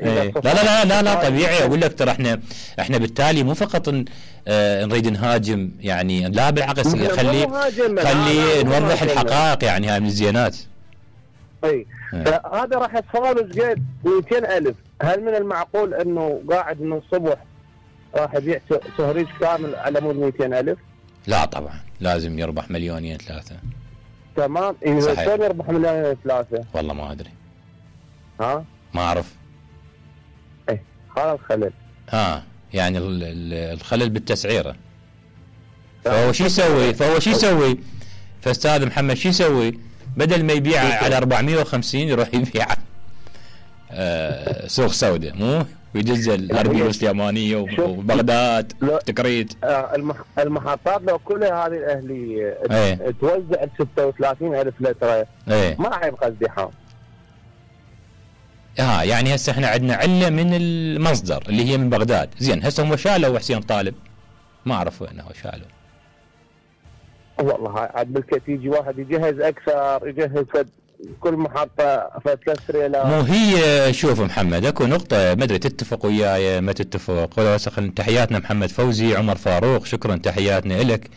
لا لا لا لا طبيعي. اقول لك ترى احنا بالتالي مو فقط نريد نهاجم يعني، لا بالعكس خلي نوضح الحقائق يعني. هاي من الزينات. اي فهذا راح يتفاوض قد 200,000. هل من المعقول انه قاعد من الصبح راح يبيع سهريج كامل على مود 200,000؟ لا طبعا لازم يربح مليونين ثلاثة. تمام. شلون يربح مليونين ثلاثة؟ والله ما ادري. ها؟ ما اعرف. ايه هذا الخلل. يعني الخلل بالتسعيرة. فهو شو يسوي؟ فاستاذ محمد شو يسوي؟ بدل ما يبيع على 450 يروح يبيع سوق سوداء، مو ويدز الاربيل اليمانيه وبغداد تكريت. المحطات لو كلها هذه الاهليه توزع 36,000 لتر ما راح يبقى ازدحام. يعني هسه احنا عندنا عله من المصدر اللي هي من بغداد. زين هسه هم شالوا حسين طالب، ما اعرف وين هو شالوا. والله عاد بالكيت يجي واحد يجهز اكثر، يجهز كل محطه فتكسر. مو هي شوف محمد اكو نقطه ما ادري تتفق وياي ما تتفق. تحياتنا محمد فوزي. عمر فاروق شكرا تحياتنا لك.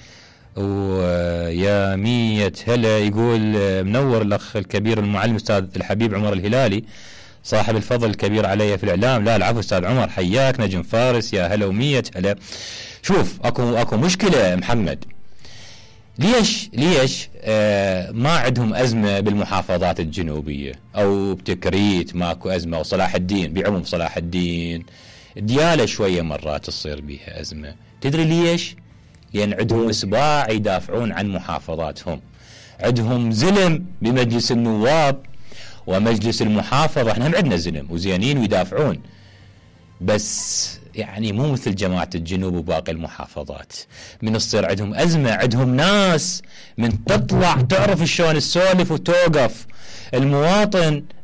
ويا 100 هلا يقول منور الاخ الكبير المعلم استاذ الحبيب عمر الهلالي صاحب الفضل الكبير علي في الاعلام. لا العفو استاذ عمر حياك. نجم فارس يا هلا و100 هلا. شوف اكو مشكله محمد. ليش ما عندهم أزمة بالمحافظات الجنوبية أو بتكريت ماكو أزمة، وصلاح الدين بعموم صلاح الدين ديالة شوية مرات تصير بيها أزمة. تدري ليش؟ لأن عندهم إصباع يدافعون عن محافظاتهم، عندهم زلم بمجلس النواب ومجلس المحافظة. احنا هم عندنا زلم وزيانين ويدافعون، بس يعني مو مثل جماعة الجنوب وباقي المحافظات. من تصير عندهم أزمة عندهم ناس من تطلع تعرف شلون تسولف وتوقف.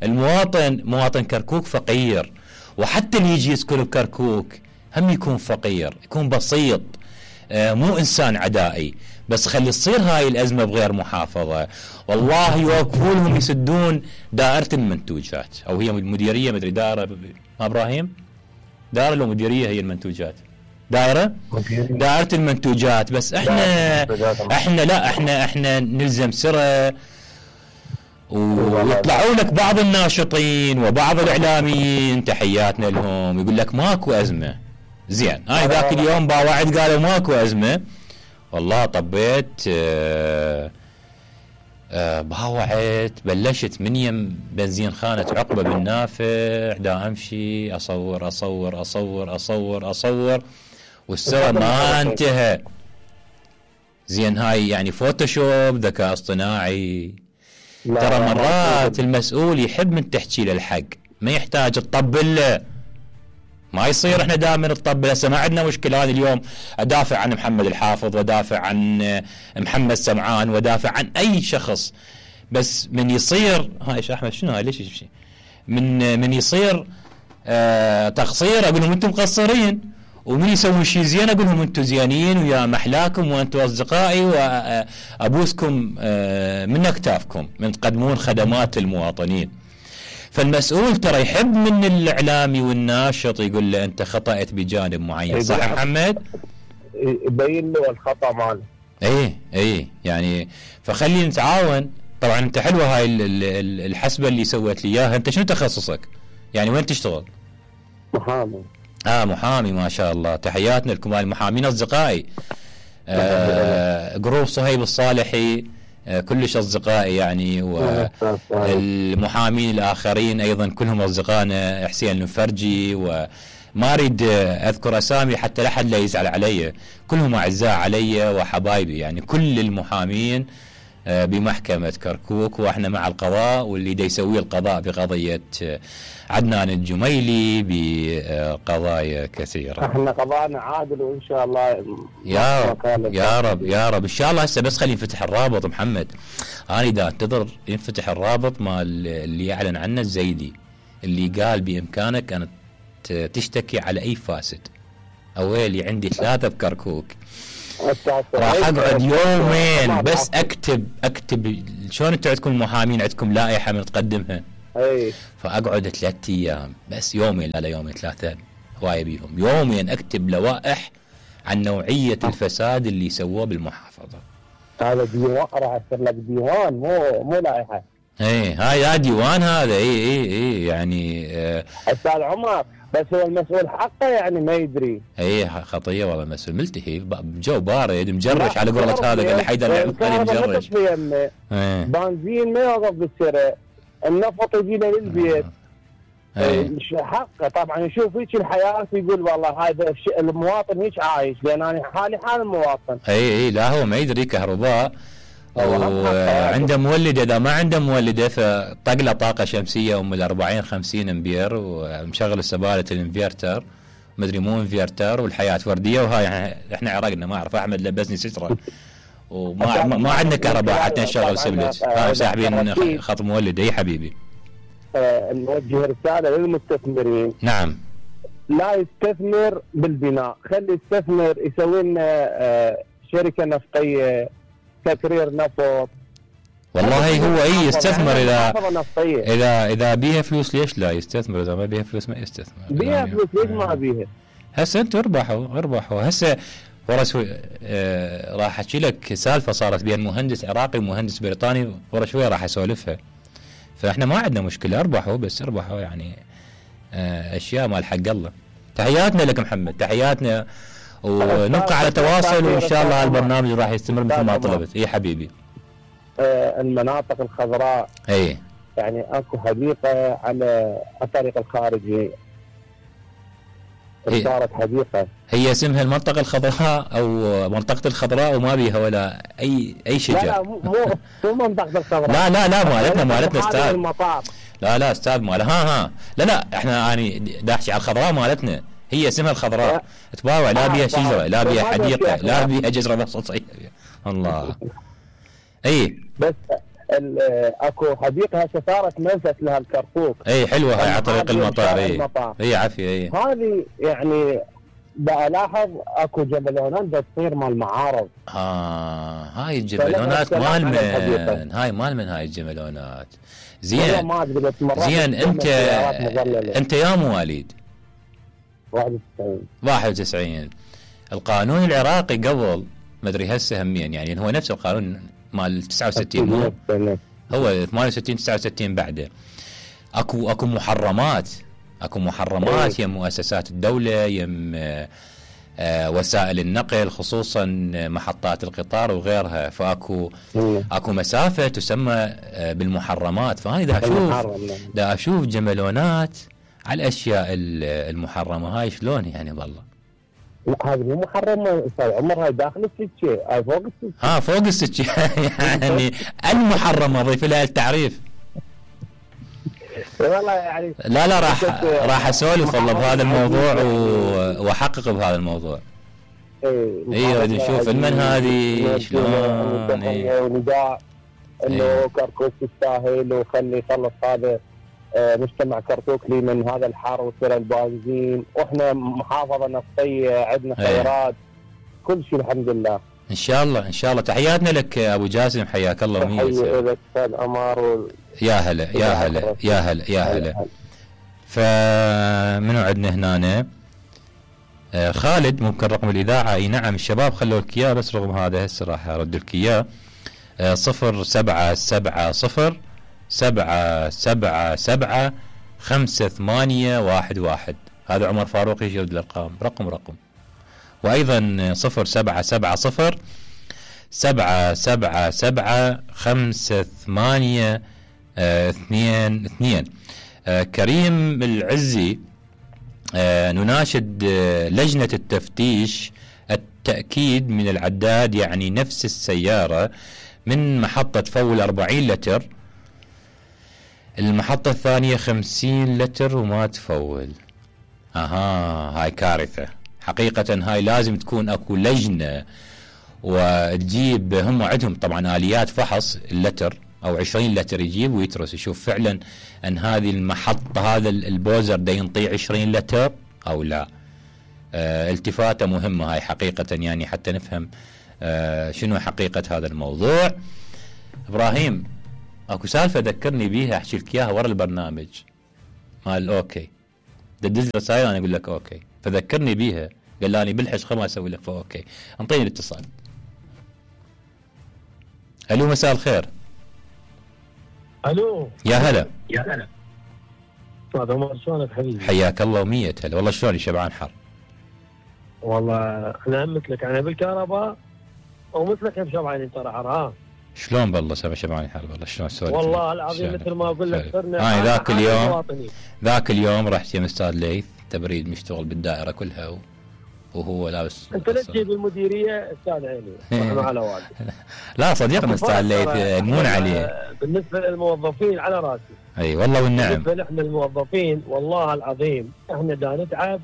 مواطن كركوك فقير، وحتى اللي يجي يسكن بكركوك هم يكون فقير، يكون بسيط، مو إنسان عدائي. بس خلي تصير هاي الأزمة بغير محافظة والله يوقفوا لهم يسدون دائرة المنتوجات، أو هي مديرية مدري دائرة إبراهيم دائرة لو مديرية هي المنتوجات دائرة المنتوجات. بس احنا نلزم سرة ويطلعوا لك بعض الناشطين وبعض الإعلاميين تحياتنا لهم يقول لك ماكو أزمة. زين هاي ذاك اليوم باوعد قالوا ماكو أزمة، والله طبيت باوعت بلشت من يم بنزين خانة عقبة بالنافع دا امشي اصور والسوى ما انتهى. زين هاي يعني فوتوشوب ذكاء اصطناعي. ترى مرات المسؤول يحب من تحكي له الحق، ما يحتاج تطبل له. ما يصير احنا دائما نطبل. هسه ما عندنا مشكله. هذا اليوم ادافع عن محمد الحافظ ودافع عن محمد سمعان ودافع عن اي شخص، بس من يصير هاي ايش احمد شنو هاي ليش شيء من يصير تقصير اقول لهم انتم مقصرين، ومن يسوون شيء زين اقول لهم انتم زيانين ويا محلاكم وانتم اصدقائي وابوسكم من اكتافكم من تقدمون خدمات المواطنين. فالمسؤول ترى يحب من الإعلامي والناشط يقول له أنت خطأت بجانب معين. صح محمد؟ يبين له الخطأ ماله. ايه يعني فخلي نتعاون. طبعا انت حلوة هاي الحسبة اللي سويت لي اياها. انت شنو تخصصك؟ يعني وين تشتغل؟ محامي. محامي ما شاء الله. تحياتنا لكم المحامين اصدقائي. جروب صهيب الصالحي كلش أصدقائي يعني، والمحامين الآخرين أيضا كلهم أصدقائنا. حسين المفرجي وما أريد أذكر أسامي حتى لا أحد لا يزعل علي، كلهم أعزاء علي وحبايبي يعني. كل المحامين بمحكمة كركوك وإحنا مع القضاء، واللي دا يسوي القضاء بقضية عدنان الجميلي بقضايا كثيرة. احنا قضاءنا عادل وإن شاء الله يا رب إن شاء الله. هسه بس خلي ينفتح الرابط محمد. أنا دا انتظر ينفتح الرابط مال اللي يعلن عنه الزيدي اللي قال بإمكانك أن تشتكي على أي فاسد. أولي عندي 3 بكركوك، راح اقعد يومين بس اكتب شلون انتم عندكم المحامين عندكم لائحه من تقدمها اي فاقعد 3 ايام بس، يومين لا يومين 3 هوايه بيهم، يومين اكتب لوائح عن نوعيه الفساد اللي سووه بالمحافظه. هذا ديوان، راح يصير لك ديوان مو لائحه. هاي ديوان هذا. اي يعني استاذ عمر، بس هو المسؤول حقه يعني ما يدري. خطيه والله، مسؤول ملتهي بجو بارد مجرش على قولة هذا، قال لي حيدر علي مجرش. بنزين ما يوقف بالسرة، النفط يجينا للبيت. حقه طبعا يشوف هيك الحياه يقول والله هذا المواطن هيك عايش، لان انا حالي حال المواطن. لا هو ما يدري كهرباء وعنده مولده، اذا ما عنده مولده فطق له طاقه شمسيه ام 40-50 امبير ومشغل السباله الانفيرتر، مدري مو انفيرتر، والحياه ورديه. وهاي احنا عرقنا ما اعرف، احمد لبسني ستره وما عندنا كهرباء حتى نشغل سبلت. هاي ساحبين خط مولد. اي حبيبي، نوجه رساله للمستثمرين. نعم، لا يستثمر بالبناء، خلي يستثمر يسوي لنا شركه نفطيه، تكرير نفط. والله هو يستثمر اذا بيها فلوس، ليش لا يستثمر؟ اذا ما بيها فلوس ما يستثمر. بيها فلوس ليش ما بيها؟ هسه انتم اربحوا هسه. ورا شوي راح احكي لك سالفه صارت بين مهندس عراقي ومهندس بريطاني، ورا شوي راح اسولفها. فاحنا ما عندنا مشكله، اربحوا يعني اشياء مال حق الله. تحياتنا لك محمد، تحياتنا، ونبقى على تواصل، وان شاء الله البرنامج راح يستمر مثل ما طلبت. اي حبيبي. المناطق الخضراء يعني اكو حديقه على الطريق الخارجي، صارت حديقه هي اسمها المنطقه الخضراء او منطقه الخضراء، وما بيها ولا اي شجر. لا مو منطقه الخضراء. لا مالتنا استاذ. لا استاذ مالها. لا احنا اني داحكي على الخضراء مالتنا، هي اسمها الخضراء. تباوع، لا بيها شجره، لا بيها حديقه، لا بيها جزره بسيطه. الله. بس اكو حديقه هسه صارت منفذ لها الكركوك. حلوه هاي على طريق المطار. عافيه. هذه يعني بلاحظ اكو جبلونات بتصير مال معارض. هاي الجبلونات مال من هاي هاي الجبلونات. زين انت يا مواليد 91. القانون العراقي قبل ما ادري هسه همين، يعني هو نفس القانون مال 69 مو هو 68 69 بعده. اكو محرمات يم مؤسسات الدوله، يم وسائل النقل، خصوصا محطات القطار وغيرها. فاكو مسافه تسمى بالمحرمات. فانا دا اشوف جملونات على الاشياء المحرمه هاي شلون يعني والله. لا هذه مو محرمه استاذ عمر، هاي داخل السكه، هاي فوق السكه. فوق السكه يعني المحرمه ضيف لها التعريف. والله يعني لا راح اسولف والله بهذا الموضوع واحقق بهذا الموضوع. نشوف من هذه شلون نداء انه كركوك يستاهل، وخلي يخلص هذا مجتمع كركوك لي من هذا الحر وسر البنزين، واحنا محافظه نفطيه عندنا خيرات كل شيء الحمد لله. ان شاء الله. تحياتنا لك ابو جاسم، حياك الله. تحيه لك استاذ عمر. يا هلا. فمنو عندنا هنا؟ خالد ممكن رقم الاذاعه. اي نعم الشباب خلوا لك اياه، بس رغم هذا هسه راح ارد لك اياه. 0770 777 هذا عمر فاروق يجرد الارقام رقم. وايضا 0770 777 كريم العزي. نناشد لجنة التفتيش التأكيد من العداد، يعني نفس السيارة من محطة فول 40 لتر، المحطة الثانية 50 لتر وما تفول. هاي كارثة حقيقة. هاي لازم تكون اكو لجنة وتجيب، هم عندهم طبعا آليات فحص اللتر او 20 لتر، يجيب ويترس يشوف فعلا ان هذه المحطة هذا البوزر دا ينطي 20 لتر او لا. التفاتة مهمة هاي حقيقة، يعني حتى نفهم شنو حقيقة هذا الموضوع. ابراهيم اكو سالفه ذكرني بيها احكي لك اياها ورا البرنامج مال اوكي، دز رسائل انا اقول لك اوكي، فذكرني بيها، قال لي بالحش ما اسوي لك فاوكي. انطيني الاتصال. الو مساء الخير. الو يا هلا. يا هلا استاذ عمر، شلونك حبيبي؟ حياك الله ومية هلا. والله شلوني شبعان حر. والله احنا مثلك، انا بالكهرباء ومثلك هم شبعانين ترى حر. ها شلون بالله شبعان حر والله. شلون سوالف؟ والله العظيم مثل ما اقول لك صرنا ذاك اليوم رحت يم استاذ ليث تبريد مشتغل بالدائره كلها وهو لابس. انت لا تجيب المديريه استاذ عيني رحمه على والدي. لا صديقنا استاذ ليث يمون عليه. بالنسبه للموظفين على راسي. اي والله والنعم. بالنسبه احنا الموظفين والله العظيم احنا دا نتعب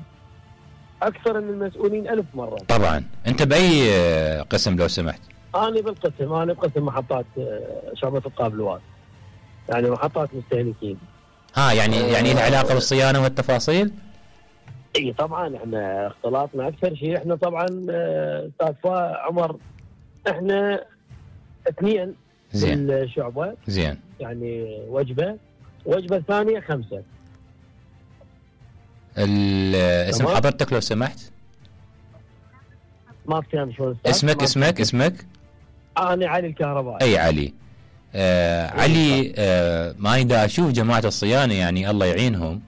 اكثر من المسؤولين 1000 مره. طبعا. انت باي قسم لو سمحت؟ انا بقسم محطات شعبة القابلوات، يعني محطات مستهلكين. يعني له علاقه بالصيانه والتفاصيل؟ اي طبعا احنا اختلاطنا اكثر شيء. احنا طبعا استاذ عمر احنا 2 بالشعبه. زين. يعني وجبه ثانيه 5. اسم حضرتك لو سمحت؟ ما فهمت شلون اسمك؟ انا علي الكهربائي. اي علي. علي. ما دا اشوف جماعه الصيانه يعني الله يعينهم.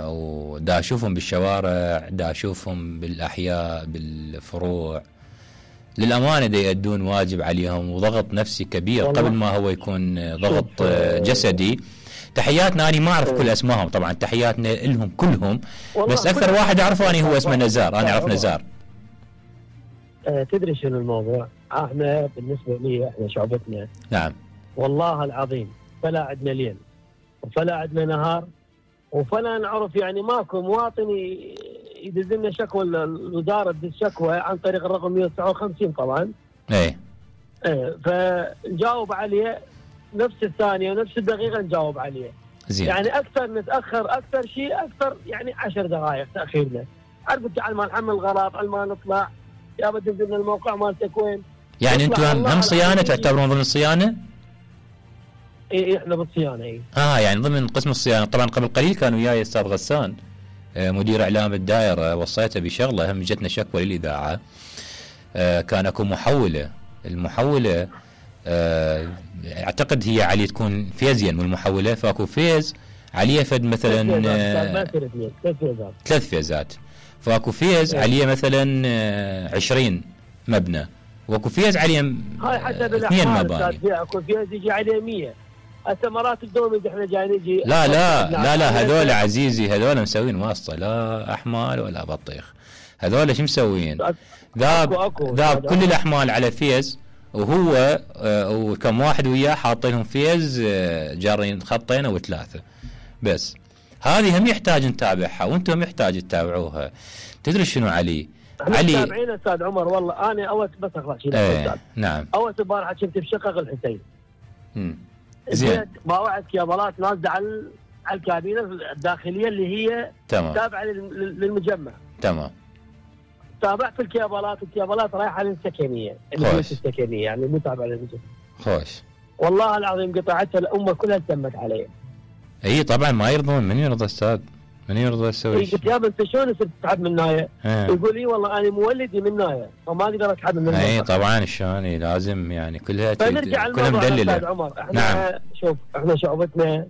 ودا اشوفهم بالشوارع، دا اشوفهم بالاحياء بالفروع، للامانه دا يؤدون واجب عليهم وضغط نفسي كبير قبل ما هو يكون ضغط جسدي. تحياتنا. انا ما اعرف كل اسمائهم طبعا، تحياتنا لهم كلهم، بس اكثر واحد اعرفه اني هو اسمه نزار. انا اعرف نزار. تدري شنو الموضوع؟ احنا بالنسبه لي احنا شعبتنا نعم والله العظيم فلا عندنا ليل وفلا عندنا نهار وفلا نعرف، يعني ماكو مواطن يدز لنا شكوى، الوزاره تدز شكوى عن طريق الرقم 159 طبعا. ايه فنجاوب عليه نفس الثانيه ونفس الدقيقه نجاوب عليه. زين. يعني اكثر نتاخر اكثر شيء اكثر يعني 10 دقائق تاخيرنا. عرفت على ما نحمل غلط، على ما نطلع يا بدي تنزل الموقع مالتك وين. يعني انتم هم صيانه تعتبرون ضمن الصيانه؟ اي احنا بالصيانه. اي يعني ضمن قسم الصيانه. طبعا قبل قليل كان وياي استاذ غسان مدير اعلام الدائره، وصيته بشغله هم جتنا شكوى للاذاعه. كان اكو محوله، المحوله اعتقد هي علي تكون فيزين من المحوله، فاكو فيز عليه فد مثلا 3 فيزات، فاكو فيز عليه مثلا 20 مبنى، واكو فيز عليه 2 مباني. اكو فيز يجي عليه 100. هسه مرات الدوم احنا جاي نجي. لا هذول عزيزي هذول مسوين واسطه، لا احمال ولا بطيخ. هذول شو مسوين؟ ذاب كل الاحمال على فيز، وهو وكم واحد وياه حاطينهم فيز جارين خطين او 3 بس. هذه هم يحتاج نتابعها وانتم يحتاج تتابعوها. تدري شنو علي متابعين استاذ عمر. والله انا اول بس اخلص نعم. اول البارحه كنت بشقق الحسين. زين. باوعد كيبلات نازله على الكابينه الداخليه اللي هي تابعه للمجمع. تمام. تابعت الكيبلات رايحه للسكنيه، السكنيه يعني مو تابعه للمجمع. خوش. والله العظيم قطعتها الامه كلها تمت علي. اي طبعا ما يرضون. من يرضى استاذ؟ من يرضى يسوي شيء؟ قلت يابا انت شلون صرت تسحب من نايه؟ يقول لي والله انا مولدي من نايه فما اقدر اسحب من نايه. اي طبعا شلون لازم يعني كلها فنرجع كلها مدلله. استاذ عمر احنا نعم. شوف احنا شعبتنا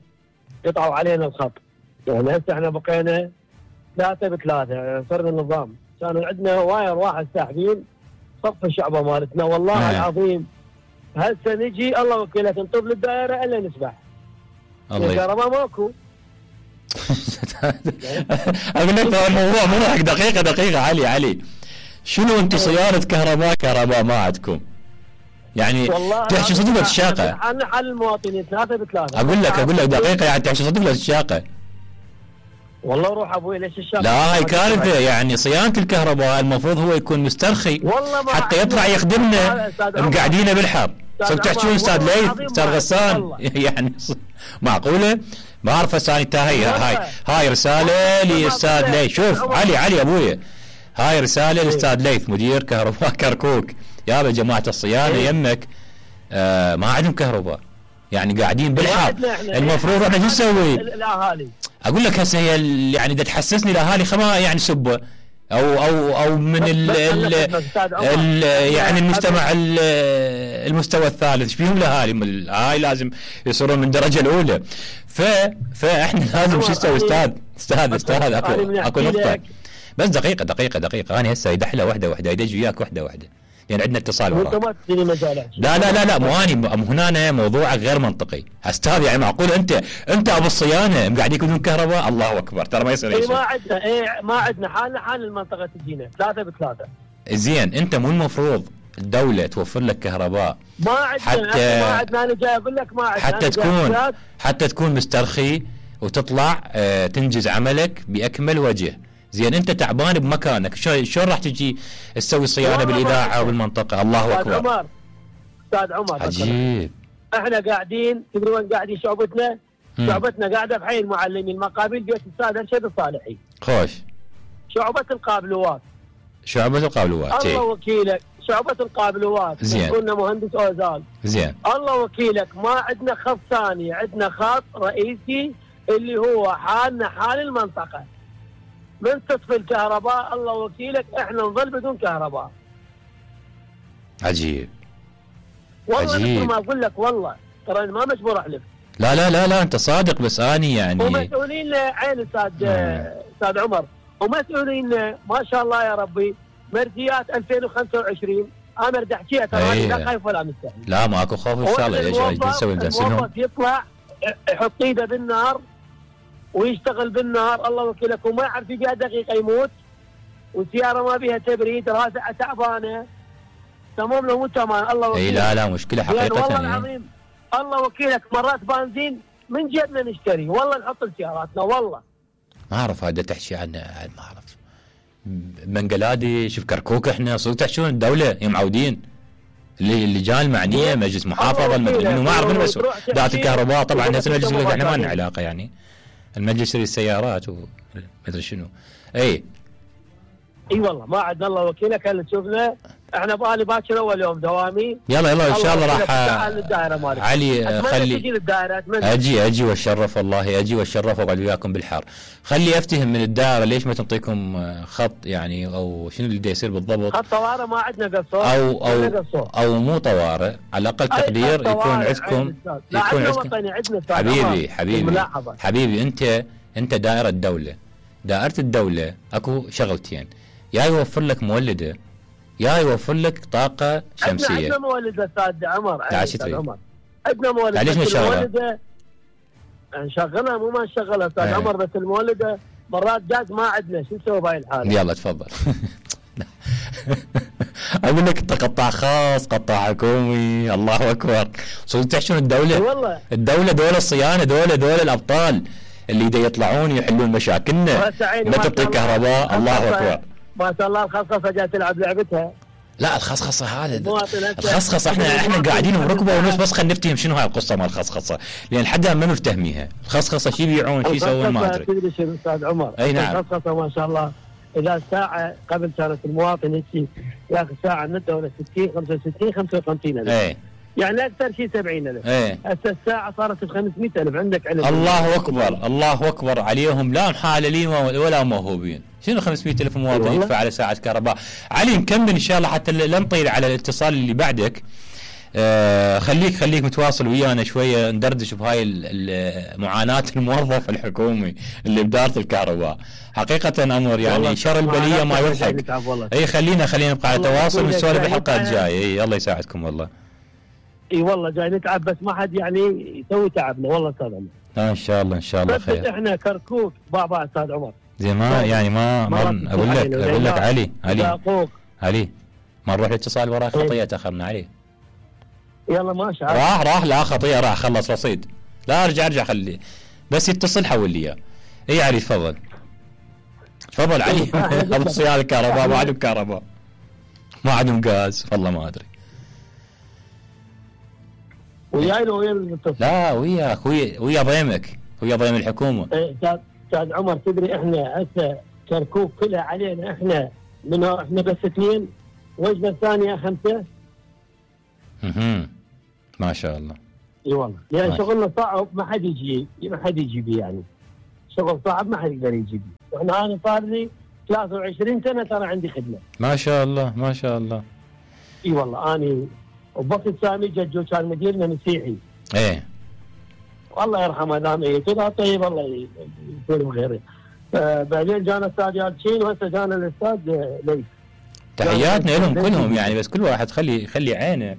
قطعوا علينا الخط، يعني هسه احنا بقينا 3 ب3 يعني صرنا النظام. كان عندنا واير واحد ساحبين صف الشعبه مالتنا والله العظيم. هسه نجي الله وكيلك نطب للدائره الا نسبح. الكهرباء ماكو. اقول لك الموضوع مو حق دقيقه علي شنو انتم صيانه كهرباء ما عندكم؟ يعني تحشي صدق الشاقه. احنا حل المواطنين 3 ب3. اقول لك دقيقه يعني تحشي صدق الشاقه. والله روح ابوي ليش الشاقه؟ لا هاي كارثه. يعني صيانه الكهرباء المفروض هو يكون مسترخي حتى يطلع يخدمنا. مقعدينه بالحر. تحكون استاذ ليث استاذ غسان يعني معقوله؟ ما اعرف ثاني هاي رساله لاستاذ ليث. شوف علي ابويا، هاي رساله لاستاذ ليث مدير كهرباء كركوك. يا جماعه الصيانه يمك ما عندهم كهرباء، يعني قاعدين بالحر. المفروض احنا شو نسوي؟ الاهالي اقول لك هسه هي يعني بدها تحسسني الاهالي خما يعني سبه او من يعني المجتمع المستوى الثالث، ايش فيهم الاهالي؟ هاي لازم يصيرون من الدرجه الاولى. فاحنا لازم شو نسوي؟ استاذ اكو نقطه بس. دقيقه انا هسه يدحله واحده يدج وياك واحده يعني عندنا اتصال وراك. انت ما تديني مجال. لا مو اني هنا موضوعك غير منطقي استاذ. يعني معقول انت ابو الصيانه قاعدين يكونون كهرباء؟ الله اكبر، ترى ما يصير شيء. ما عندنا حال المنطقه تجينا 3 ب3. زين انت مو المفروض الدوله توفر لك كهرباء؟ ما عندنا انا جاي اقول لك ما عندنا، حتى تكون مسترخي وتطلع تنجز عملك باكمل وجه. زين انت تعبان بمكانك، شلون راح تجي تسوي صيانه بالاذاعه وبالمنطقه؟ الله اكبر. استاذ عمر عجيب. احنا قاعدين تدري وين قاعدين؟ شعبتنا قاعده بحي المعلمين، المقابل بيت الاستاذ ارشد الصالحي. خوش. شعبه القابلوات. الله وكيلك، شعبه القابلوات. زين. قلنا مهندس اوزال. زين. الله وكيلك، ما عندنا خط ثاني، عندنا خط رئيسي اللي هو حالنا حال المنطقه. من تطفي الكهرباء الله وكيلك احنا نظل بدون كهرباء. عجيب. والله ما اقول لك، والله ترى ما مجبور احلف. لا انت صادق، بس اني يعني ومسؤولين عين استاذ عمر، ومسؤولين ما شاء الله يا ربي مرجيات 2025. انا بدي احكيها ترى لا خايف ولا مستحي. لا ماكو خوف ان شاء الله. ايش نسوي؟ الموظف يطلع يحط ايده بالنار ويشتغل بالنهار الله وكيلك، وما يعرف فيها دقيقه يموت، والسياره ما بيها تبريد، راسه تعبانه تمام له مو تمام. الله وكيلك. لا مشكله حقيقه. والله العظيم الله وكيلك مرات بنزين من جيبنا نشتري، والله نحط لسياراتنا. والله ما اعرف هذا تحكي عنه، ما اعرف. بنجلاديش بكركوك احنا صرتوا تحشون الدوله معودين. اللجان المعنيه مجلس محافظه المدري منو، ما اعرف من المسؤول. ذات الكهرباء طبعا هسه المجلس يقول احنا ما لنا علاقه، يعني المجلس السيارات ومدري شنو. اي والله ما عندنا الله وكيلك. هل تشوفنا احنا بالي باكر اول يوم دوامي. يلا ان شاء الله راح علي خلي اجي واتشرف، والله اجي واتشرف واقعد وياكم بالحار. خلي افتهم من الدائره ليش ما تنطيكم خط يعني، او شنو اللي يصير بالضبط؟ خط طوارئ ما عندنا قصور او مو طوارئ، على الاقل تقدير يكون عندكم. حبيبي انت دائره الدوله اكو شغلتين، يا يوفر لك مولده يا يوفر لك طاقه شمسيه. عندنا مولده استاذ عمر. عندنا مولده. ليش نشغلها؟ نشغلها مو ما نشغلها استاذ عمر، بس المولده مرات جاز ما عندنا، شو نسوي بهاي الحاله؟ يلا تفضل. اقول لك انت قطاع خاص قطاع حكومي، الله اكبر. صرتوا تحشون الدوله. والله دول الصيانه، دول الابطال اللي يطلعون يحلون مشاكلنا. ما تعطي كهرباء. الله اكبر. ما شاء الله الخصخصه جايه تلعب لعبتها. لا الخصخصه هذا الخصخصه احنا قاعدين وركبه ونص، بس خلينا نفتهم شنو هاي القصه مال الخصخصه، لان حد ما مفتهميها. الخصخصه شو يبيعون شو يسوون ما ادري. تدري شنو استاذ عمر؟ اي نعم. الخصخصه ما شاء الله اذا ساعه قبل كانت المواطن ياخذ ساعه من الدوله 60 65 55 الف. اي يعني اكثر شيء 70,000. هسه الساعه صارت ب 500,000. عندك علم. الله اكبر عليهم، لا محاللين ولا موهوبين. شنو 500,000 مواطن يدفع على ساعه كهرباء؟ علي نكمل ان شاء الله حتى لا نطيل على الاتصال اللي بعدك. خليك متواصل ويانا شويه ندردش بهاي معاناه الموظف الحكومي اللي بدارة الكهرباء. حقيقه امر يعني شر البليه ما يضحك. اي خلينا نبقى على تواصل ونسولف بالحلقه الجايه. الله يساعدكم والله. اي والله جاي نتعب، بس ما حد يعني يسوي تعبنا والله استاذ عمر. ان شاء الله خير. احنا كركوك بابا استاذ عمر. زي ما يعني ما اقول لك علي ما نروح الاتصال وراه خطيه تاخرنا عليه. يلا ماشي. راح لا خطيه راح خلص رصيد. لا ارجع خليه بس يتصل حول لي اياه. اي علي تفضل علي. ابو صيانه الكهرباء ما عندهم كهرباء، ما عندهم غاز، والله ما ادري. وياي لو ويا المتصل؟ لا وياك ويا ضيمك، ويا ضيم الحكومه. استاذ عمر تدري احنا هسه كركوك كلها علينا، احنا بس 2 وجبه ثانيه 5. ما شاء الله. اي والله يعني شغلنا صعب، ما حد يجي بيه يعني. شغل صعب ما حد يقدر يجي بيه. واحنا انا صار لي 23 سنه ترى عندي خدمه. ما شاء الله ما شاء الله. اي والله اني وبوقت سامي جدو كان مديرنا مسيحي. ايه والله يرحمه دام ايه كذا طيب الله يكون بخير. بعدين جانا الاستاذ يالتشين وهسه جانا الاستاذ ليث. تحياتنا لهم كلهم يعني، بس كل واحد خلي عينه.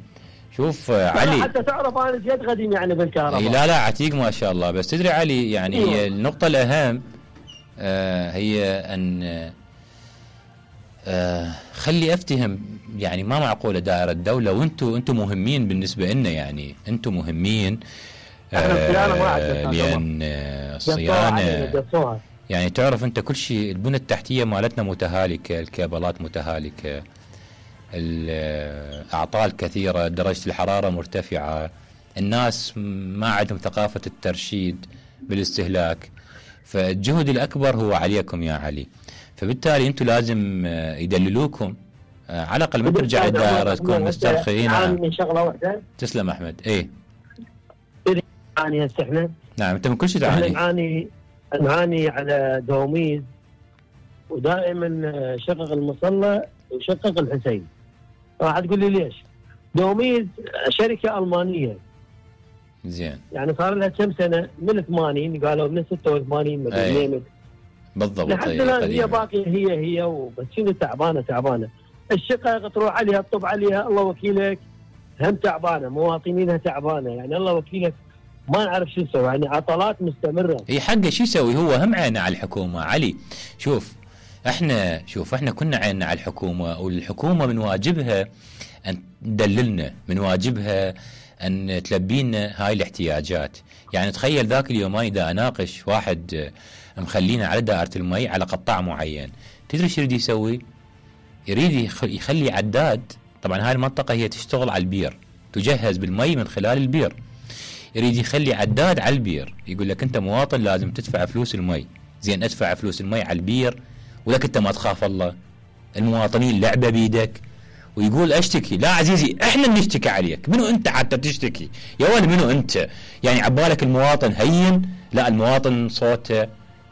شوف علي حتى تعرف انا جد قديم يعني بالكهرباء. لا عتيق ما شاء الله. بس تدري علي يعني هي النقطة الأهم هي أن خلي أفتهم يعني ما معقولة دائرة الدولة وأنتم مهمين بالنسبة لنا، يعني أنتم مهمين لأن الصيانة يعني تعرف أنت كل شيء. البنى التحتية مالتنا متهالكة، الكابلات متهالكة، الأعطال كثيرة، درجة الحرارة مرتفعة، الناس ما عندهم ثقافة الترشيد بالاستهلاك. فالجهد الأكبر هو عليكم يا علي. فبالتالي أنتم لازم يدللوكم على الأقل من ترجع دائرتكم مسترخين. من شغلة واحدة. تسلم أحمد. إيه نعاني هسه احنا. نعم أنت من كل شيء تعاني. نعاني على دوميز، ودائما شقق المصلى وشقق الحسين. راح تقول لي ليش؟ دوميز شركة ألمانية زين، يعني صار لها كم سنة من 80 قالوا من 86 من بالضبط لحد الآن هي باقية هي وبس شنو تعبانة. الشقق تروح عليها تطب عليها الله وكيلك هم تعبانة، مواطنينها تعبانة، يعني الله وكيلك ما نعرف شو نسوي، يعني عطلات مستمرة. اي حقه شو يسوي؟ هو هم عينه على الحكومة علي. شوف احنا كنا عيننا على الحكومة، والحكومة من واجبها ان تدللنا، من واجبها ان تلبينا هاي الاحتياجات. يعني تخيل ذاك اليومين اذا اناقش واحد مخلينا على دائرة المي على قطاع معين، تدري شو يريد يسوي؟ يريد يخلي عداد. طبعا هاي المنطقة هي تشتغل على البير، تجهز بالمي من خلال البير. يريد يخلي عداد على البير، يقول لك انت مواطن لازم تدفع فلوس المي. زين ادفع فلوس المي على البير ولك انت ما تخاف الله؟ المواطنين لعبة بيدك. ويقول اشتكي. لا عزيزي احنا نشتكي عليك. منو انت حتى تشتكي يا ولد؟ منو انت؟ يعني عبالك المواطن هين؟ لا، المواطن صوته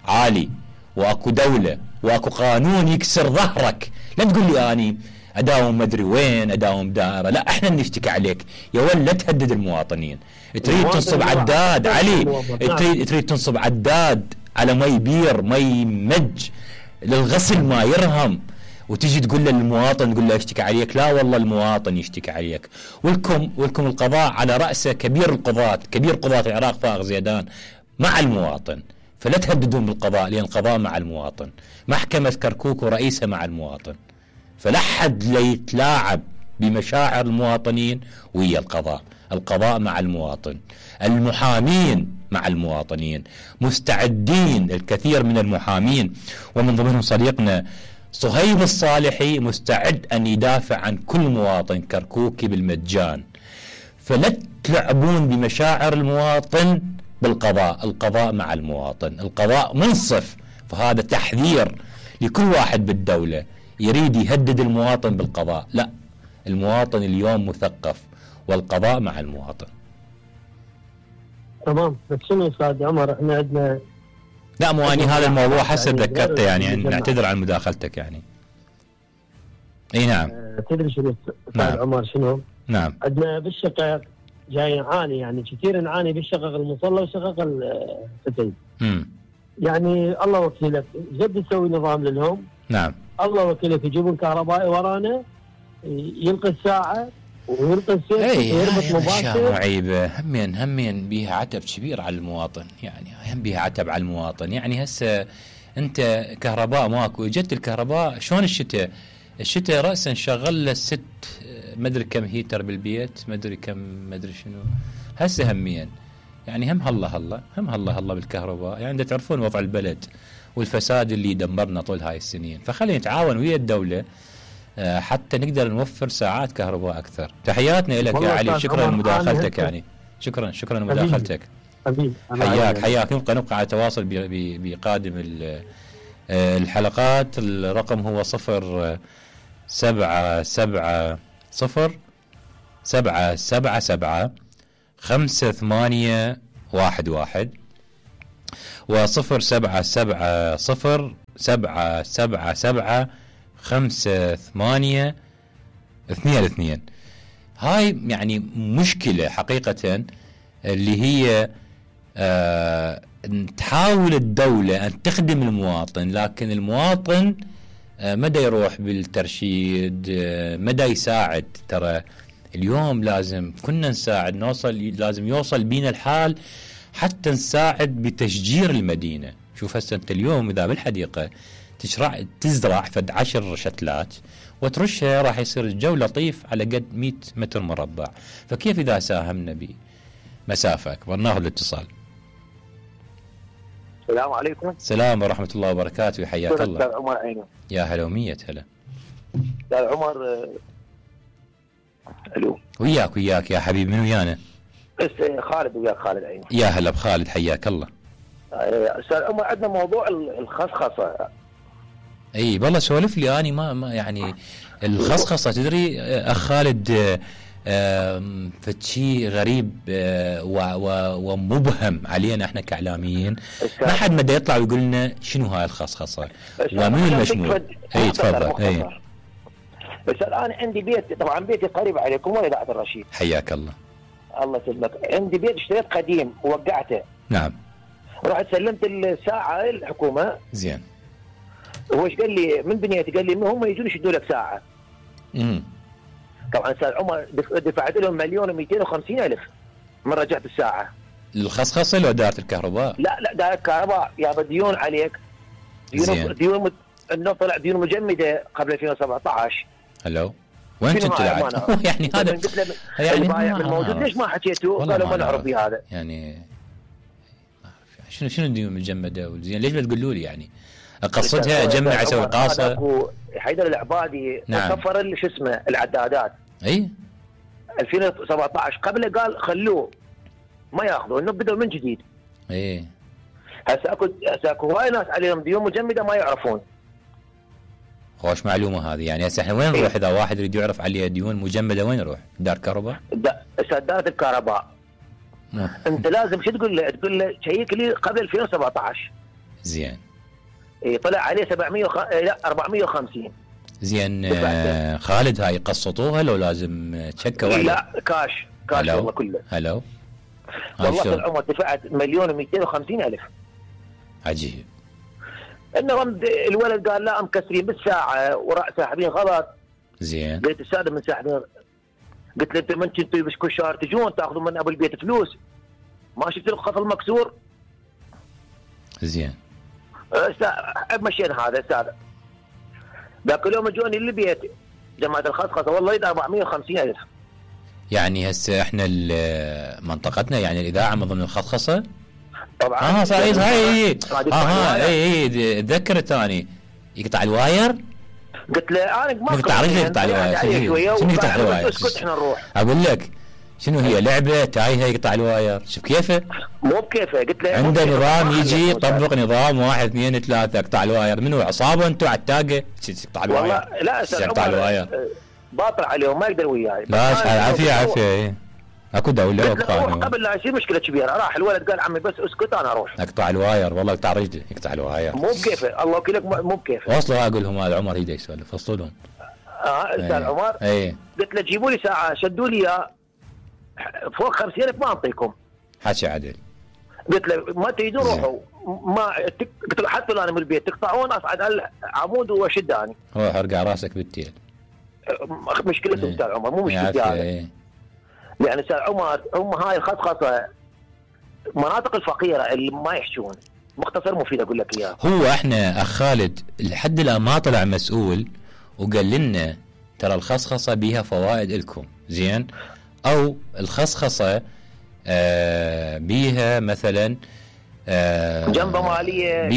عالي، واكو دولة واكو قانون يكسر ظهرك. لا تقول لي اني اداوم مدري وين، اداوم دائرة. لا احنا نشتكي عليك يا ولد. لا تهدد المواطنين. تريد تنصب عداد علي، تريد تنصب عداد على مي بير، مي مج للغسل ما يرهم، وتجي تقول للمواطن تقول له اشتكي عليك. لا والله المواطن يشتكي عليك. ولكم القضاء على رأسه كبير قضاة العراق فائق زيدان مع المواطن. فلا تهددون بالقضاء، لأن القضاء مع المواطن. محكمة كركوك ورئيسها مع المواطن. فلا حد ليتلاعب بمشاعر المواطنين ويا القضاء مع المواطن. المحامين مع المواطنين مستعدين، الكثير من المحامين ومن ضمنهم صديقنا صهيب الصالحي مستعد أن يدافع عن كل مواطن كركوكي بالمجان. فلا تلعبون بمشاعر المواطن بالقضاء. القضاء مع المواطن، القضاء منصف. فهذا تحذير لكل واحد بالدولة يريد يهدد المواطن بالقضاء. لا، المواطن اليوم مثقف والقضاء مع المواطن. تمام. بس شنو استاذ عمر احنا عندنا لا مو اني هذا الموضوع حسب ذكرته يعني نعتذر عن مداخلتك يعني. اي نعم. تدري شنو استاذ عمر شنو؟ نعم. عندنا بالشقق جاي نعاني، يعني كثير نعاني بالشقق المصلى وشقق الفتيل. يعني الله وكيلك جد يسوي نظام لهم. نعم. الله وكيلك يجيبون كهربائي ورانا يلقي الساعة ويلقي السيف ويربط مباشر. عيبة همين بيها عتب كبير على المواطن، يعني هم بيها عتب على المواطن. يعني هسه انت كهرباء ماكو، اجت الكهرباء شلون الشتاء رأسا شغل له 6 مدري كم هيتر بالبيت، مدري شنو. هسه همين يعني هم هلا بالكهرباء. يعني تعرفون وضع البلد والفساد اللي دمرنا طول هاي السنين. فخلينا نتعاون ويا الدولة حتى نقدر نوفر ساعات كهرباء أكثر. تحياتنا لك يا علي. شكرا لمداخلتك يعني. شكرا لمداخلتك. حياك. نبقى على تواصل بقادم الحلقات. الرقم هو 0770777 5811 و070777582. هاي يعني مشكلة حقيقة اللي هي تحاول الدولة أن تخدم المواطن، لكن المواطن مدى يروح بالترشيد، مدى يساعد. ترى اليوم لازم كنا نساعد، لازم يوصل بينا الحال حتى نساعد بتشجير المدينة. شوف هسه انت اليوم اذا بالحديقة تزرع فد 10 شتلات وترشها راح يصير الجو لطيف على قد 100 متر مربع، فكيف اذا ساهمنا بمسافة اكبر؟ ناخذ الاتصال. السلام عليكم. السلام ورحمة الله وبركاته، حياك الله. استاذ عمر عينه. يا هلا ومية هلا. استاذ عمر. الو. وياك يا حبيبي، من ويانا؟ خالد. وياك خالد عينه. يا هلا بخالد، حياك الله. استاذ عمر، عندنا موضوع الخصخصة. اي والله سولف لي. اني ما يعني الخصخصة تدري اخ خالد، فشي غريب ومبهم علينا احنا كاعلاميين. ما حد مدى يطلع ويقول لنا شنو هاي الخصخصة ومن المشمول. اي تفضل. اي بس الان عندي بيت، طبعا بيتي قريب عليكم وإذاعة الرشيد. حياك الله. الله يسلمك. عندي بيت اشتريت قديم ووقعته. نعم. رحت سلمت الساعة للحكومة. زين. هو ايش قال لي من بنيتي؟ قال لي هم يجون يشدوا لك ساعة. طبعا استاذ عمر دفعت لهم 1,250,000 من رجعت الساعة. الخصخصة لو دائرة الكهرباء؟ لا دائرة الكهرباء. يا ديون عليك. ديون انه طلع ديون مجمدة قبل 2017. هلو وين كنت قاعد؟ يعني هذا يعني البايع الموجود ليش ما حكيتوا؟ قالوا ما نعرف بهذا. يعني شنو الديون مجمدة وزين؟ ليش بتقولوا لي يعني؟ قصدها اجمع اسوي قاصة. حيدر العبادي صفر شو اسمه العدادات. اي 2017 قبله قال خلوه ما ياخذوا، انه بدوا من جديد. اي هسه اكو هواي ناس عليهم ديون مجمده ما يعرفون. خوش معلومه هذه. يعني هسه احنا وين نروح اذا واحد يريد يعرف عليه ديون مجمده؟ وين نروح؟ دار كهرباء؟ سدادة الكهرباء. انت لازم شو تقول له؟ تقول له شيك لي قبل 2017. زين. طلع عليه 450. زين. خالد هاي قسطوها لو لازم تشكه ولا؟ لا كاش والله كله. هلو والله العمر دفعت 1,250,000. عجيب. انه الولد قال لا مكسرين بالساعه وراح ساحبين غلط. زين. قلت الساده من ساحبين. قلت له انت من كنتوا بس كل شهر تجون تاخذوا من ابو البيت فلوس؟ ما شفت الخط المكسور؟ زين. مشينا هذا استاذ. ذاك اليوم جوني للبيت جماعه الخصخصه والله يد 450,000. يعني هسه احنا منطقتنا يعني الاذاعه من ضمن الخصخصه؟ طبعا. صحيح. هاي اي تذكرت اني يقطع الواير. قلت له انا ما يقطع رجله يقطع الواير. شنو يقطع الواير؟ اسكت احنا نروح. اقول لك شنو هي لعبه تايهه يقطع الواير. شوف كيفه؟ مو بكيفه. قلت له عنده نظام يجي يطبق نظام 1 2 3 يقطع الواير. منو عصابه انتم على التاقه يقطع الواير؟ والله لا يقطع الواير. باطل عليهم ما يقدر وياي. لا عافيه اكو دوله وقانون. قبل لا يصير مشكله كبيره راح الولد قال عمي بس اسكت انا اروح. اقطع الواير والله يقطع رجلي يقطع الواير. مو بكيفه الله وكيلك مو بكيفه. وصلوا اقول لهم هذا عمر يده يسولف وصلهم. استاذ عمر. قلت له جيبوا لي ساعه شدوا لي اياه فوق 50,000 ما اعطيكم. حكي عدل. قلت له ما تريدون روحوا ما قلت له حتى انا من البيت تقطعون اصعد على العمود وشداني. روح ارقع راسك بالتيل. مشكلته استاذ عمر مو مشكلتي هذا. يعني استاذ عمر هم هاي الخصخصه مناطق الفقيره اللي ما يحشون. مختصر مفيد اقول لك اياه. هو احنا اخ خالد لحد الان ما طلع مسؤول وقال لنا ترى الخصخصه بيها فوائد لكم. زين. او الخصخصه بيها مثلا جنبه ماليه.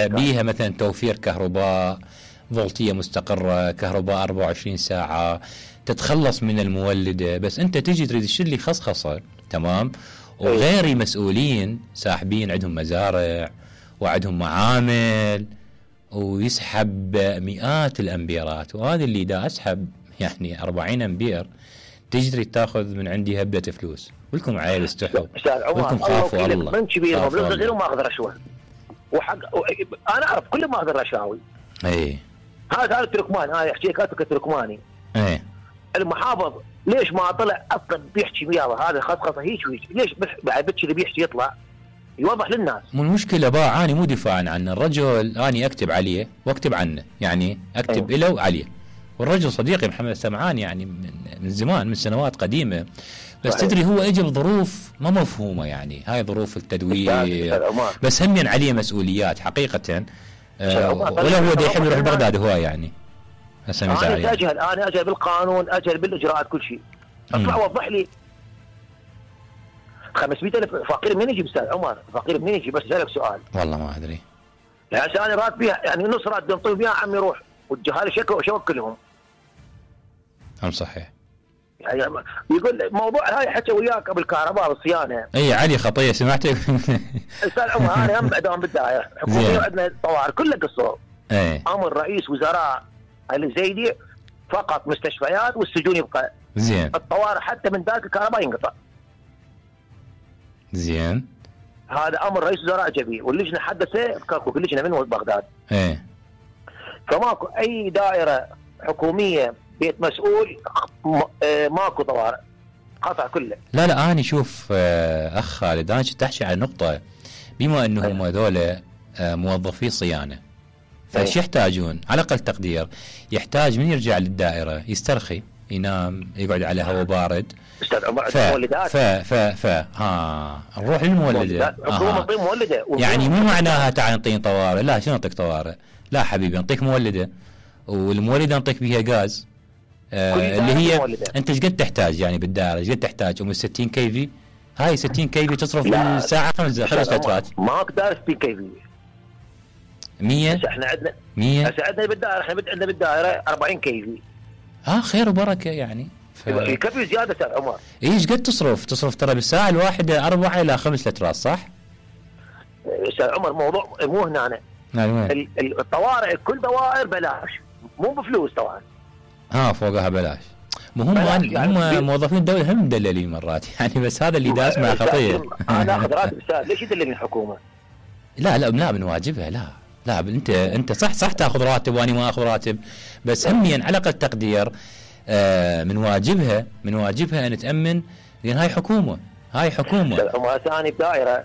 بيها مثلا توفير كهرباء، فولتيه مستقره، كهرباء 24 ساعه، تتخلص من المولده. بس انت تجي تريد تشتري لي خصخصه تمام وغيري مسؤولين ساحبين عندهم مزارع وعندهم معامل ويسحب مئات الامبيرات. وهذا اللي دا اسحب يعني 40 امبير تجري تاخذ من عندي هبه فلوس. ولكم عيل استحوا، استاذ عمر ولكم خافوا الله من كبير مبلغ صغير وما اخذ رشوه، وحق انا اعرف كل ما اخذ رشاوي. اي هذا التركمان، انا احكي لك تركماني. اي المحافظ ليش ما طلع اصلا بيحكي وياه هذا خصخصه هيك ليش بعد اللي بيحكي يطلع يوضح للناس؟ مو المشكله باع، اني مو دفاعا عنه، الرجل اني اكتب عليه واكتب عنه، يعني اكتب له وعليه، والرجل صديقي محمد السمعان يعني من زمان، من سنوات قديمه، بس تدري هو اجى بظروف ما مفهومه، يعني هاي ظروف التدوير، بس هم عليه مسؤوليات حقيقه. ولا هو يحب يروح بغداد هو يعني هسه انا اجهل بالقانون، اجهل بالاجراءات كل شيء. اطلع وضح لي 500,000 فقير منين يجي استاذ عمر؟ فقير منين يجي؟ بس اسالك سؤال والله ما ادري. يعني انا راتبي يعني نص راتب ينطوا بيها عم يروح، والجهال شكوا كلهم. صحيح. يعني يقول موضوع هاي حكى وياك قبل الكهرباء والصيانه. اي علي خطيه سمعتك. استاذ عمر انا هم دوام بالدائره حكوميه وعندنا طوارئ كلها قصور. امر رئيس وزراء الزيدي فقط مستشفيات والسجون يبقى. زين. الطوارئ حتى من ذاك الكهرباء ينقطع. زين. هذا امر رئيس وزراء جبيه، واللجنه حدثه كاكو اللجنه من بغداد. فماكو اي دائره حكوميه بيت مسؤول ماكو طوارئ، قطع كله. لا اني شوف اخ خالد، انا كنت احكي على نقطه، بما انهم هذول موظفي صيانه، فايش يحتاجون؟ على اقل تقدير يحتاج من يرجع للدائره يسترخي، ينام، يقعد على هواء بارد. استاذ عمر مولدات. نروح للمولده. مولده. يعني مو معناها تعال نعطيك طوارئ، لا شنو نعطيك طوارئ؟ لا حبيبي نعطيك مولده، والمولده نعطيك بيها غاز. اللي هي مولدة. انت ايش قد تحتاج يعني بالدائره؟ ايش قد تحتاج؟ 60 كي في؟ هاي 60 كي في تصرف بالساعه 5 لترات. ماك دائره 60 كي في 100. هسه احنا عندنا 100 هسه عندنا بالدائره، احنا عندنا بالدائره 40 كي في. خير وبركه يعني. يكفي زياده استاذ عمر. ايش قد تصرف ترى بالساعه الواحده 4 إلى 5 لترات صح؟ استاذ عمر موضوع مو هنا. الطوارئ كل دوائر بلاش، مو بفلوس طبعا. فوقها بلاش. هم موظفين الدوله هم مدللين مرات يعني، بس هذا اللي داس مع خطيه. انا اخذ راتب استاذ، ليش يدللني الحكومه؟ لا من واجبها. لا انت صح تاخذ راتب واني ما اخذ راتب، بس هميا على اقل تقدير من واجبها ان تامن، لان هاي حكومه. ثاني بدائره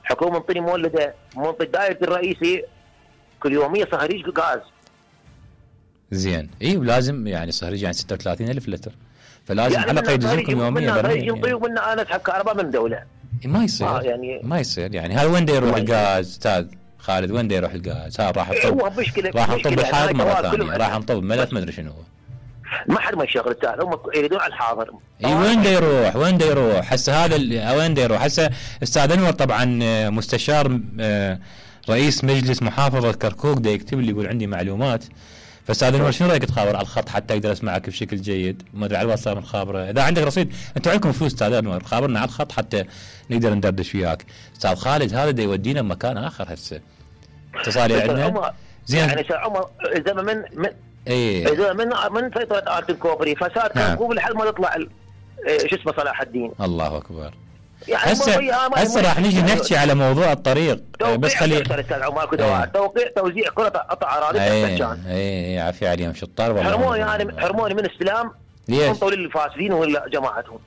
حكومه منطيني مولده، منطي دائره الرئيسي كل يوميه صهريج غاز. زين. ولازم يعني صهريج يعني 36,000 لتر، فلازم يعني على الاقل يدزلكم يوميا برميل. ينطيوا منا انا اسحب كهرباء من دوله. ما يصير يعني هذا وين يروح الغاز استاذ خالد؟ وين يروح الغاز؟ راح نطب الحائط مره ثانيه، راح نطب ملف ما ادري شنو هو. ما حد ما يشغل التال، هم يريدون على الحاضر. وين يروح هسه هذا وين يروح هسه؟ استاذ انور طبعا مستشار رئيس مجلس محافظه كركوك دا يكتب لي يقول عندي معلومات، فاستاذ انور شنو رايك تخابر على الخط حتى اقدر اسمعك بشكل جيد؟ ما ادري على الواتساب نخابره، اذا عندك رصيد انتم عندكم فلوس استاذ انور خابرنا على الخط حتى نقدر ندردش وياك. استاذ خالد هذا دا يودينا بمكان اخر هسه. اتصالي عندنا زين. يعني استاذ عمر اذا اذا من سيطره ارتن كوبري فساد كوب لحد ما تطلع شو اسمه صلاح الدين. الله اكبر. يعني هسه راح نجي نحكي على موضوع الطريق، بس خلي استاذ عمر توقيع توزيع قطع اراضي بالسكان. عافيه عليهم شطار والله. حرموني من استلام انطوا للفاسدين ولا جماعتهم.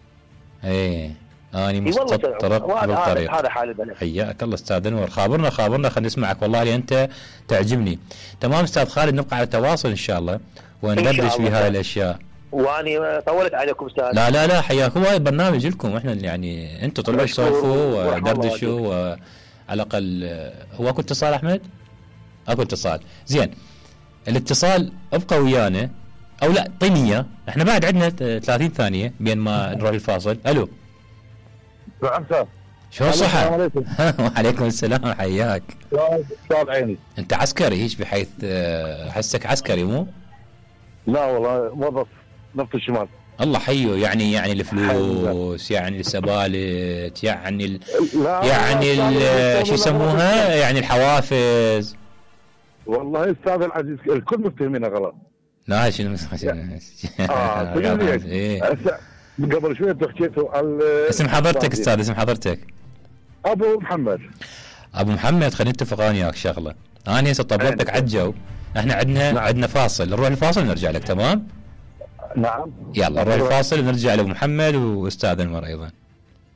اني مستطرق بالطريق. هذا حال البلد. حياك الله استاذ انور، خابرنا خلينا نسمعك والله لأن انت تعجبني. تمام استاذ خالد، نبقى على تواصل ان شاء الله وندردش في هاي الاشياء. واني طولت عليكم استاذ. لا حياكم، هاي برنامج لكم احنا يعني انتم طلعوا تسولفوا ودردشوا، وعلى الاقل هو اكو اتصال احمد؟ اكو اتصال. زين الاتصال ابقى ويانا او لا طينيه، احنا بعد عندنا 30 ثانيه بين ما نروح الفاصل. الو شو الصحة؟ وعليكم السلام حياك. صار عيني. انت عسكري هيك بحيث حسك عسكري مو؟ لا والله موظف نفط الشمال. الله حيو. يعني الفلوس، يعني السبالت، يعني شو يسموها، يعني الحوافز. والله استاذ العزيز الكل مفتهمينها غلط. لا شنو قبل شويه حكيتوا على اسم حضرتك استاذ، اسم حضرتك؟ ابو محمد. ابو محمد، خلينا نتفق انا وياك شغله. انا هسه طبقتك على الجو، احنا عندنا فاصل، نروح الفاصل ونرجع لك. تمام؟ نعم. يلا نروح الفاصل ونرجع لابو محمد واستاذ انور ايضا.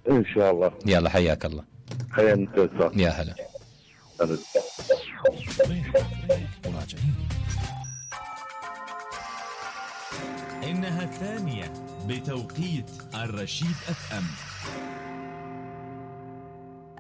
ان شاء الله. يلا حياك الله. حيا انت استاذ. يا هلا. إنها الثانية بتوقيت الرشيد FM.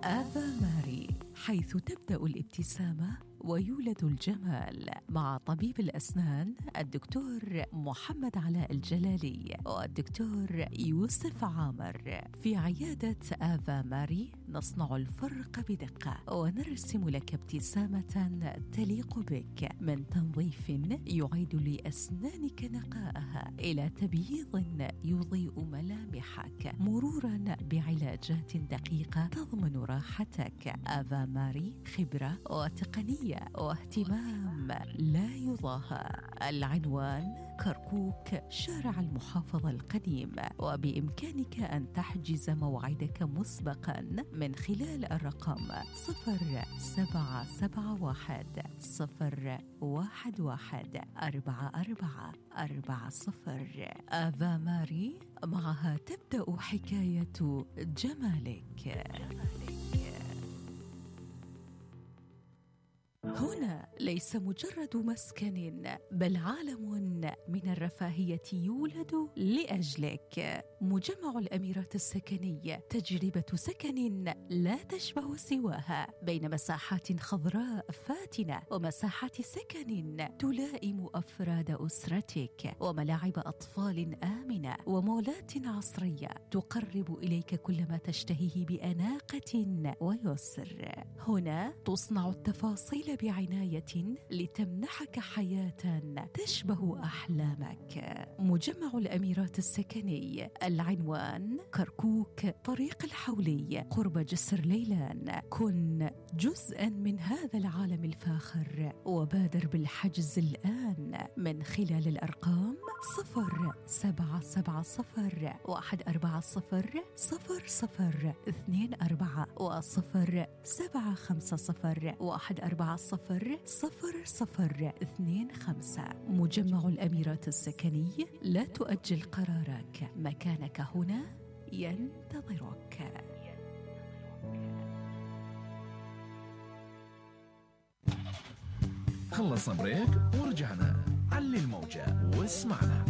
آفا ماري، حيث تبدأ الابتسامة ويولد الجمال، مع طبيب الأسنان الدكتور محمد علاء الجلالي والدكتور يوسف عامر. في عيادة آفا ماري نصنع الفرق بدقة ونرسم لك ابتسامة تليق بك، من تنظيف يعيد لأسنانك نقائها إلى تبييض يضيء ملامحك، مرورا بعلاجات دقيقة تضمن راحتك. آفا ماري خبرة وتقنية واهتمام لا يضاهى. العنوان كركوك، شارع المحافظة القديم، وبإمكانك أن تحجز موعدك مسبقا من خلال الرقم 0771-114440. آفا ماري، معها تبدأ حكاية جمالك. هنا ليس مجرد مسكن، بل عالم من الرفاهية يولد لأجلك. مجمع الأميرات السكني، تجربة سكن لا تشبه سواها، بين مساحات خضراء فاتنة ومساحات سكن تلائم أفراد أسرتك، وملاعب أطفال آمنة، ومولات عصرية تقرب إليك كل ما تشتهيه بأناقة ويسر. هنا تصنع التفاصيل بعناية لتمنحك حياة تشبه أحلامك. مجمع الأميرات السكني، العنوان كركوك، طريق الحولي، قرب جسر ليلان. كن جزءا من هذا العالم الفاخر، وبادر بالحجز الآن من خلال الأرقام 0770-140-0024 و0750-140-0025. مجمع الأميرات السكني، لا تؤجل قرارك، مكانك هنا ينتظرك. خلصنا بريك ورجعنا. علي الموجة واسمعنا.